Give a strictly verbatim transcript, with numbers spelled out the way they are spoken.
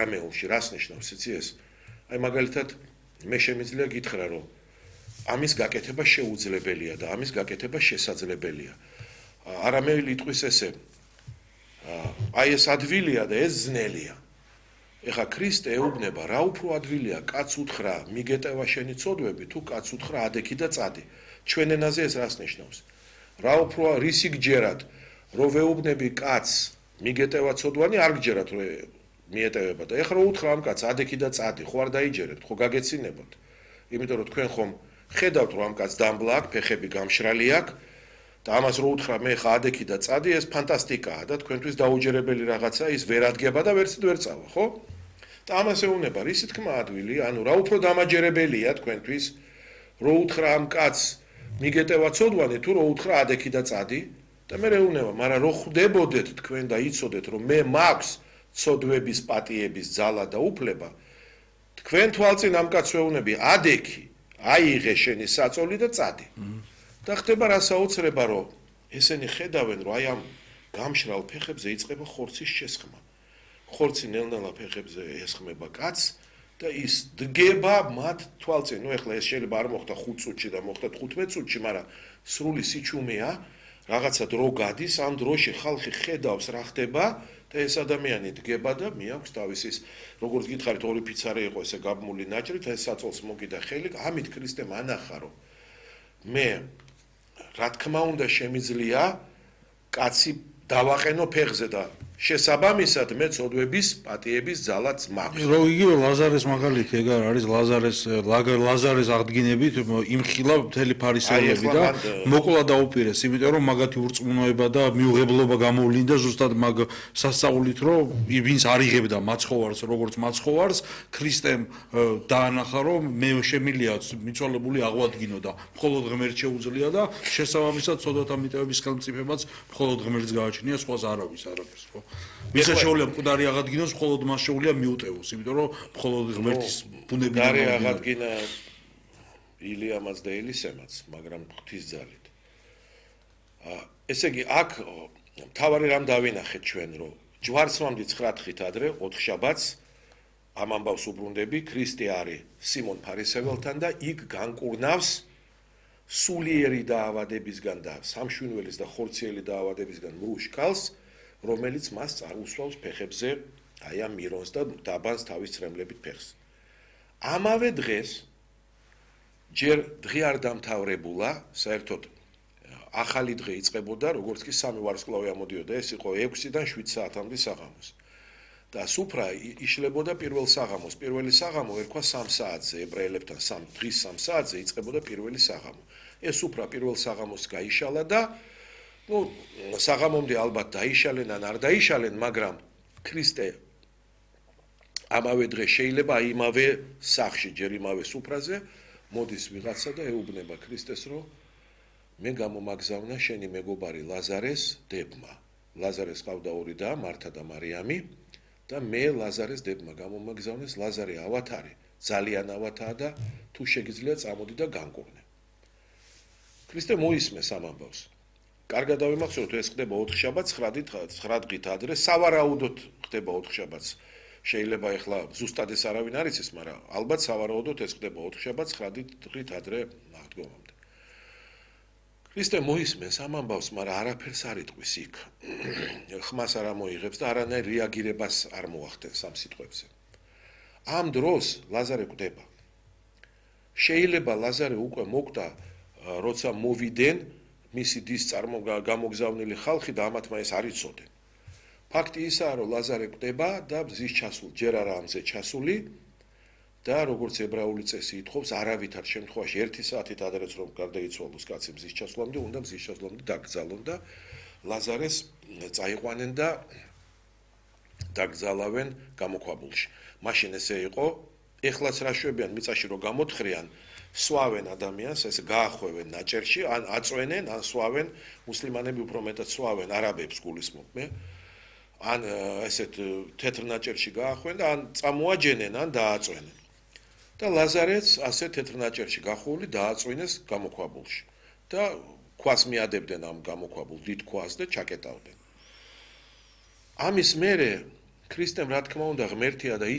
ამეულში რას ნიშნავს იცი ეს? აი მაგალითად მე შემიძლია გითხრა რომ ამის გაკეთება შეუძლებელია და ამის გაკეთება შესაძლებელია. არამე ლიტყვის ესე აი ეს ადვილია და ეს ძნელია. ეხა ქრისტე ეუბნება რა უფრო ადვილია კაც უთხრა მიგეტევა შენი ცოდვები თუ კაც უთხრა ადექი და წადი. ჩვენ ენაზე ეს რას ნიშნავს? რა უფრო რისი გჯერათ რომ ვეუბნები კაც მიგეტევა ცოდვანი არ გჯერათ რომ მიეტევება და ეხლა რო უთხრა ამ კაც ადექი და წადი ხო არ დაიჯერებთ ხო გაგეცინებოთ. იმიტომ რომ თქვენ ხომ ხედავთ რომ ამ კაც დამბლა აქვს ფეხები გამშრალი აქვს და ამას რო უთხრა მე ხა ადექი და წადი ეს ფანტასტიკაა და თქვენთვის დაუჯერებელი რაღაცა ის ვერ ადგება და ვერც ვერ წავა ხო? და ამას ეუბნება რისი თქმა ადვილი ანუ რა უფრო დამაჯერებელია თქვენთვის რო უთხრა ამ კაც მიგეტევა ცოდვანი თუ რო უთხრა ადექი და წადი და მე ეუბნება მაგრამ რო ხვდებოდეთ თქვენ და იცოდეთ რომ მე მაქვს ცოდვების პატიების ძალა და უფლება თქვენ თვალწინ ამ კაცს ვეუბნები ადექი აიღე შენი საწოლი და წადი. და ხდება რა საოცრება რომ ესენი ხედავენ რომ აი ამ გამშრალ ფეხებზე იწყება ხორცის შესხმა. ხორცი ნელ-ნელა ფეხებზე ესხმება კაცს და ის დგება მათ თვალწინ. ნუ ეხლა ეს შეიძლება არ მოხდა ხუთ წუთში და მოხდა თხუთმეტ წუთში, მაგრამ სრული სიჩუმეა, რაღაცა დრო გადის, ამ დროში ხალხი ხედავს რა ხდება და ეს ადამიანი დგება და მიაქვს თავის ის როგორც გითხარით ორი ფიცარი იყო ესე გაბმული ნაჭრით, ეს საწოლს მოგიდა ხელი, ამით ქრისტემ ანახა რომ მე რა თქმა უნდა შემიძლია კაცი დავაყენო ფეხზე და შესაბამისად მე ცოდვების პატიების ძალაც მაქვს. რო იგივე ლაზარეს მაგალითი ეგ არის ლაზარეს ლაზარეს აღდგინებით იმხილა მთელი ფარისევლები და მოკლა დაუპირეს, იმიტომ რომ მაგათი ურწმუნოება და მიუღებლობა გამოვლინდა ზუსტად მაგ სასწაულით რომ ვინც არიღებდა მაცხოვარს როგორც მაცხოვარს ქრისტემ დაანახა რომ მე შემილია მიცვალებული აღვადგინო და მხოლოდ ღმერთ შეუძლია და შესაბამისად ცოდვათა მიტევების ხელმწიფებაც მხოლოდ ღმერთს გააჩნია სხვას არავის არაფერს ხო ვისაც შეუძლია მკვდარი აღადგინოს, მხოლოდ მას შეუძლია მიუტევოს, იმიტომ რომ მხოლოდ ღმერთის ბუნებიდან მკვდარი აღადგინა ილიამაც და ელისემაც, მაგრამ ღვთის ძალით. ესე იგი, აქ მთავარი რამ დავინახეთ ჩვენ, რომ ჯვარცმამდე ცხრა დღით ადრე, ოთხ შაბათს ამ ამბავს უბრუნდები, ქრისტე არის სიმონ ფარისეველთან და იქ განკურნავს სულიერი დაავადებისგან და სამშვინველის და ხორციელი დაავადებისგან მრუშ ქალს, რომელიც მას წარუსვავს ფეხებზე აი ამ მირონს და დაბანს თავის წრემლებით ფეხს. ამავე დღეს ჯერ დღე არ დამთავრებულა, საერთოდ ახალი დღე იწყებოდა, როგორც კი სამი ვარსკვლავი ამოდიოდა, ეს იყო ექვსიდან შვიდ საათამდე საღამოს. და სუფრა იშლებოდა პირველ საღამოს. პირველი საღამო ერქვა სამ საათზე, ებრაელებთან სამ დღის სამ საათზე იწყებოდა პირველი საღამო. ეს სუფრა პირველ საღამოს გაიშალა და ну, საღამომდე ალბათ დაიშალენ ან არ დაიშალენ, მაგრამ ქრისტე ამავე დღეს შეიძლება აი იმავე სახში, ჯერ იმავე სუფრაზე მოდის ვიღაცა და ეუბნება ქრისტეს, რომ მე გამომაგზავნა შენი მეგობარი ლაზარეს დებმა. ლაზარეს ყავდა ორი და მართა და მარიამი და მე ლაზარეს დებმა გამომაგზავნეს, ლაზარე ავათარი, ძალიან ავათაა და თუ შეგიძლია წამოდი და განკურნე. ქრისტე მოისმეს ამ ამბავს. კარგად დავიმახსოვროთ, ეს ხდება ოთხ შაბათს, ცხრა დღით ადრე, სავარაუდოდ ხდება ოთხ შაბათს. შეიძლება ეხლა ზუსტად ეს არავინ არ იცის, მაგრამ ალბათ სავარაუდოდ ეს ხდება ოთხ შაბათს, ცხრა დღით ადრე აღდგომამდე. ქრისტე მოისმენს ამ ამბავს, მაგრამ არაფერს არ იტყვის იქ. ხმას არ ამოიღებს და არანაირ რეაგირებას არ მოახდენს ამ სიტყვებზე. ამ დროს ლაზარე კვდება. შეიძლება ლაზარე უკვე მოკვდა, როცა მოვიდნენ მისი დის წარმოგამოგზავნილი ხალხი და ამათმა ეს არ იცოდნენ. ფაქტი ისაა, რომ ლაზარე კვდება და მზის ჩასული, ჯერ არა ამზე ჩასული და როგორც ებრაული წესი ითხოვს, არავითარ შემთხვევაში ერთი საათით ადრეც რომ გარდაიცვალოს კაცი მზის ჩასვლამდე, უნდა მზის ჩასვლამდე დაკრძალონ და ლაზარეს წაიყვანენ და დაკრძალავენ გამოქვაბულში. მაშინ ესე იყო, ეხლაც რა შვებიან მიწაში რომ გამოთხრიან, სვავენ ადამიანს, ესე გაახვევენ ნაჭერში, ან აწვენენ, ან სვავენ, მუსლიმანები უფრო მეტად სვავენ არაბებს გულისხმობ მე. ან ესეთ თეთრ ნაჭერში გაახვენ და ან წამოაჯენენ, ან დააწვენენ. და ლაზარეც ასე თეთრ ნაჭერში გახვეული დააწვინეს გამოქვაბულში. და ქვას მიადებდნენ ამ გამოქვაბულ დიდ ქვას და ჩაკეტავდნენ. ამის მერე ქრისტემ რა თქმა უნდა ღმერთია და